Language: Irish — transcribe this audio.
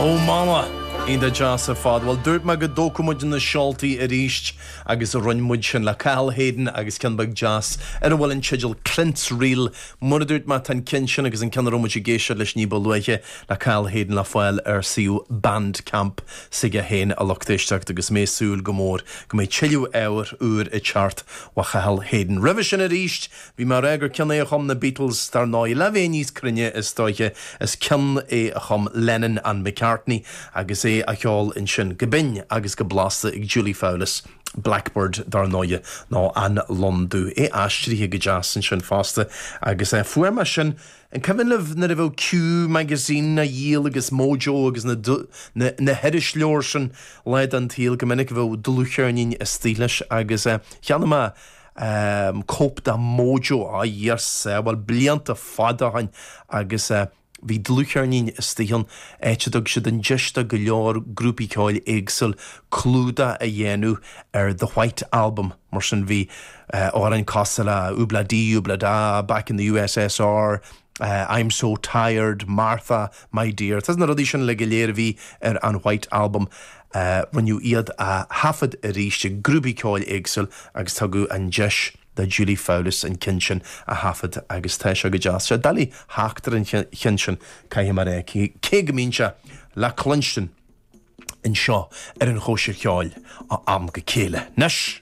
Oh Mama! Iontach deas ar fad. Bhuel, dúirt mé go dtógfadh muid na seoltaí arís agus rinne muid sin le Cathal Hayden agus ceann beag deas ar a bhfuil an teideal Clint's Reel. Mar a dúirt mé, tá an ceann sin agus an ceann a raibh muid ag éisteacht leis ní ba luaithe le Cathal Hayden le fáil ar suíomh Bandcamp s'aige féin, a lucht éisteachta, agus mé ag súil go mór go mbeidh tuilleadh ábhair úr ag teacht ó Chathal Hayden. Roimhe sin arís, Bhí mé ag rá gur ceann é a chum na Beatles, dar ndóigh. Le bheith níos cruinne, is dóiche, is ceann é a chum Lennon and McCartney agus é á cheol ansin go binn agus go blasta ag Julie Fowlis, Blackbird, dar ndóighe, nó An Lon Dubh. É aistrithe go deas ansin fosta agus fuair mé sin, an cuimhin libh nuair a bheadh Q Magazine á dhíol agus Mojo agus na na hirisleabhair sin lá den tsaol, go minic bheadh dlúthcheirnín istigh leis agus cheannaigh mé cóip de Mojo, a Dhia ár sábháil, blianta fada ó shin agus bhí dlúthcheirnín istigh ann, áit a dtug siad an deis do go leor grúpaí ceoil éagsúil clúdach a dhéanamh ar The White Album. Mar sin bhí amhráin cosúil le Ob-La-Di, Ob-La-Da, Back in the USSR, I'm So Tired, Martha, My Dear. Tá na rudaí sin uilig go léir a bhí ar an White Album. Rinneadh iad a thaifead arís ag grúpaí ceoil éagsúil agus tugadh an deis do Julie Fowlis an ceann sin a thaifead agus tá sé go deas. Sé doiligh theacht ar an cheann sin, caithfidh mé a rá, cé go mbíonn sé le cluinstin anseo ar an Chóisir Cheoil ó am go céile. Anois!